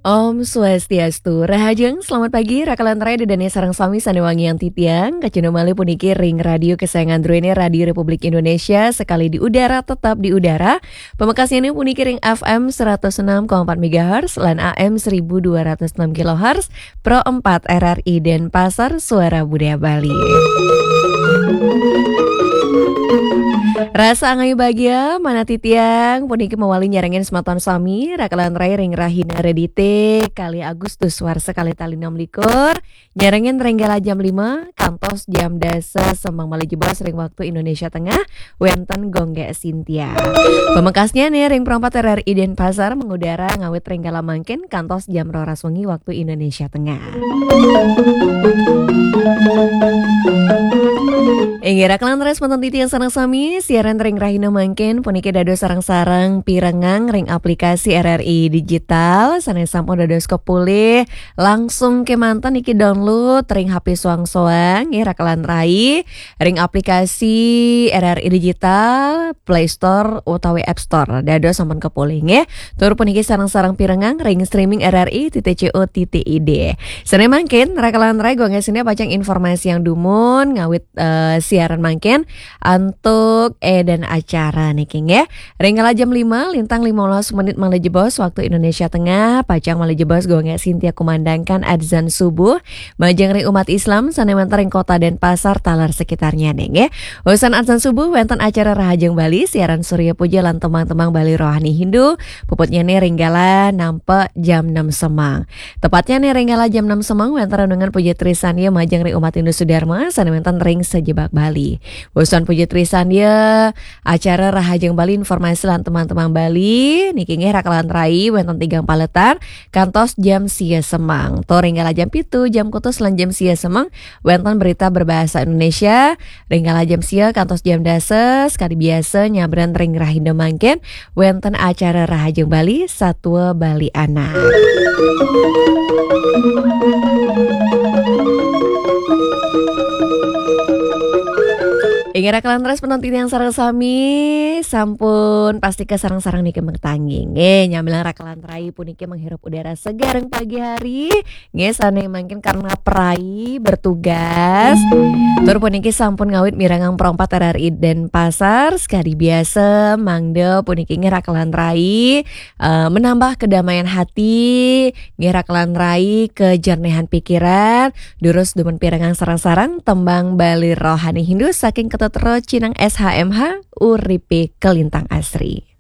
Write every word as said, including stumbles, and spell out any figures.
Om Swastiastu. Rahajeng, selamat pagi, rakalan rai dedane sareng sami sane wangiang titiang. Kacunduk malih puniki ring radio kesayangan druene, Radio Republik Indonesia, sekali di udara, tetap di udara. Pamekasnyane puniki ring F M seratus enam koma empat megahertz lan A M seribu dua ratus enam kilohertz, Pro empat R R I Denpasar, Suara Budaya Bali. Rasa angayu bagia, manah titiang puniki mawali nyarengin semeton sami, rakalan rai ring rahina Redite, kalih Agustus warsa kalih tali enam likur, nyarengin ring galah jam lima kantos jam dasa semeng malih jebos ring waktu Indonesia Tengah, wenten Gung Gek Sintia. Pamekasnyane ring Pro empat R R I Denpasar mengudara ngawit ring galah mangkin kantos jam roras wengi waktu Indonesia Tengah. Inggih, rakalan rai semeton titiang sareng sami, siaran ring rahina mangkin puniki dados sareng-sareng pirengang ring aplikasi R R I Digital, sane sampun dados kapulih langsung kemanten niki download ring H P soang-soang, nggih, rakalan rai, ring aplikasi R R I Digital, Play Store utawi App Store. Dados sampun kapulih, nggih. Tur puniki sareng-sareng pirengang ring streaming R R I titik co titik I D. Sane mangkin, rakalan rai, Gung Gek Sintia pacang informasiang dumun ngawit, eh, siaran mangkin antuk eden acara niki, nggih. Ring kala jam lima, lintang lima belas menit malih jebos waktu Indonesia Tengah, pacang malih jebos Gung Gek Sintia kumandangkan adzan subuh majeng ring umat Islam sane wenten ring Kota Denpasar taler sekitarnyane, nggih. Usan adzan subuh wenten acara Rahajeng Bali, siaran Surya Puja lan tembang-tembang Bali rohani Hindu, puputnyane ring galah nampi jam enam semeng. Tepatnyane ring galah jam enam semeng wenten renungan puja trisandya majeng ring umat Hindu Sudarma sane wenten ring sajebag Bali. Usan puja trisandya, acara Rahajeng Bali, informasi lan tembang-tembang Bali niki, nggih, rakalan rai, wenten tigang paletan kantos jam sia semeng. Tur ring galah jam pitu, jam kutus lan jam sia semeng wenten berita berbahasa Indonesia. Ring galah jam sia kantos jam dasa, sekadi biasa nyabran ring rahina mangkin wenten acara Rahajeng Bali, Satua Bali Anak. Inggih, rakalan rai semeton titiang sareng sami, sampun pastika sareng-sareng niki maketanggi. Nggih, nyamilang rakalan rai puniki menghirup udara segar ring pagi hari. Nggih, sane mangkin karena prai bertugas. Tur puniki sampun ngawit mirengang Pro empat R R I Denpasar, sekadi biasa, mangda puniki, nggih, rakalan rai, eh, menambah kedamaian hati, nggih, rakalan rai, kejernihan pikiran, durus dumun pirengang sareng-sareng tembang Bali rohani Hindu saking Ketut Rocinang S H M H, Uripe Kelintang Asri.